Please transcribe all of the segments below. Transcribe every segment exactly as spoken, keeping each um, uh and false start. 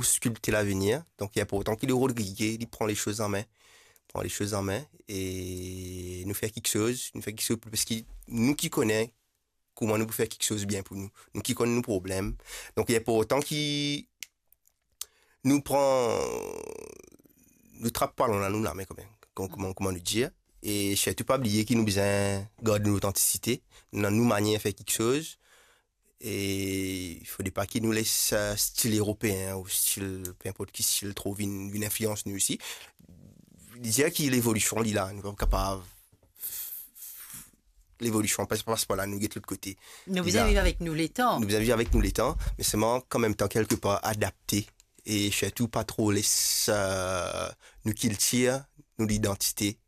pou skilpte lavenir. Donk, li inportan ki le Rodrige, li pran le soz an me, pran le soz an me, e nou fer kiksoz, nou fer kiksoz, parski nou ki kone kouma nou pou fer kiksoz bien pou nou, nou ki konn nou problem. Donk, li inportan ki nou pran, nou trap balon dan nou lame kanmem, kom-, kouma, kouma nou dir. E sirtou pa bliye ki nou bizin gard nou lotantisite, dan nou manier fer kiksoz. E fode pa ki nou les, eh, stil eropeen ou stil, pe inport ki stil, tro vinn, vinn inflians nou osi. Li dir ki levolision, li la, nou pa kapav, levolision pas, pas par la, nou get lot kote. Nou bizin viv avek nou letan. Nou bizin viv avek nou letan, me selman, an mem tan, kelkepar, adapte e sirtou pa tro les, eh, nou kiltir, nou lidantite,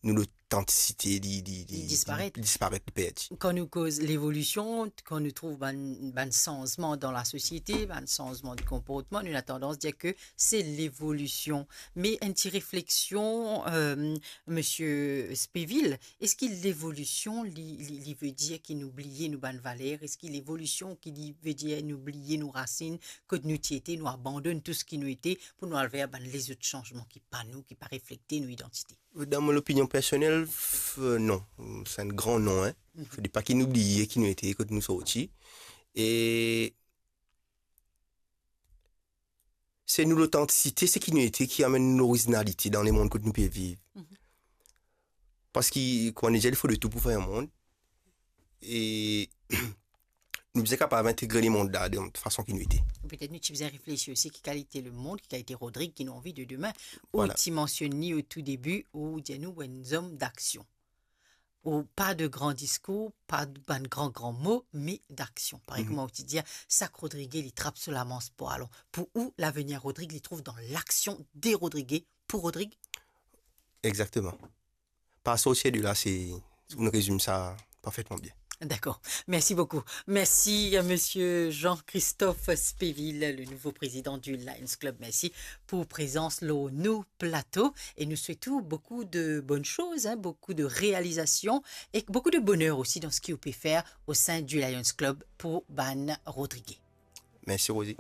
nou lotantisite, li, li, li, li disparet. Li disparet, li perdi. Kan nou koz levolision, kan nou trouv bann, bann sanzman dan lasosiete, bann sanzman de konportman, nou ena tandans dir ke se levolision. Me enn ti refleksion, eh, Misie Spevil, eski levolision, li, li, li ve dir ki nou bliye nou bann valer? Eski levolision ki li ve dir nou bliye nou rasinn, kot nou ti ete, nou abandonn tou seki nou ete, pou nou al ver bann lezot sanzman ki pa nou, ki pa reflekte nou idantite? Dan mo lopinion personel, f-, non. Se enn gran non, en. Mhm. Fode pa ki nou bliye ki nou ete, kot nou sorti. E se nou lotantisite, seki nou ete, ki amenn nou lorizinalite dan lemond kot nou pe viv. Mhm. Parski, kouma nou dir, li fode tou pou fer enn mond. E nou bizin kapav integre lemond la de fason ki nou ete. Petet nou ti bizin reflesi osi ki kalite lemond, ki kalite Rodrig ki nou anvi de demin. Ou ti mansionn li o tou debi, ou dir nou, ou enn zom daksion. Ou pa de gran diskour, pa de bann gran, gran mo, me daksion. Parey kouma ou ti dir, sak Rodrige li trap so lamans pou alon. Pou ou, lavenir Rodrig, li trouv dan laksion de Rodrige, pou Rodrig? Exactement. Pas sortir de la, se, ou rezim sa parfetman bien. Dakor. Mersi boukou. Mersi a Misie Jean-Christophe Spevil, le nouvo prezidan di Lions Club. Mersi pou prezans lor nou plato e nou swet ou boukou de bonn soz, en, boukou de realizasion e boukou de boner osi dan seki ou pe fer o sin di Lions Club pou bann Rodrige. Mersi, Rosie.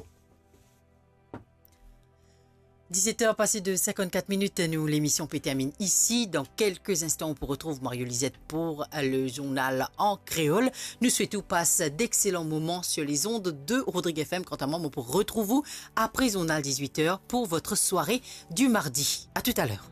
Dix-sept heures passées de cinquante-quatre minutes, nou lemision pe terminn isi. Dan kelke instan, ou pou retrouv Mario Lizette pou le zournal an kreol. Nou swet ou pas d'excellents moments sur les ondes de Rodrigue F M. Quant à moi, mo pou retrouv ou apre zournal dix-huit heures pour votre soirée du mardi. À tout à l'heure.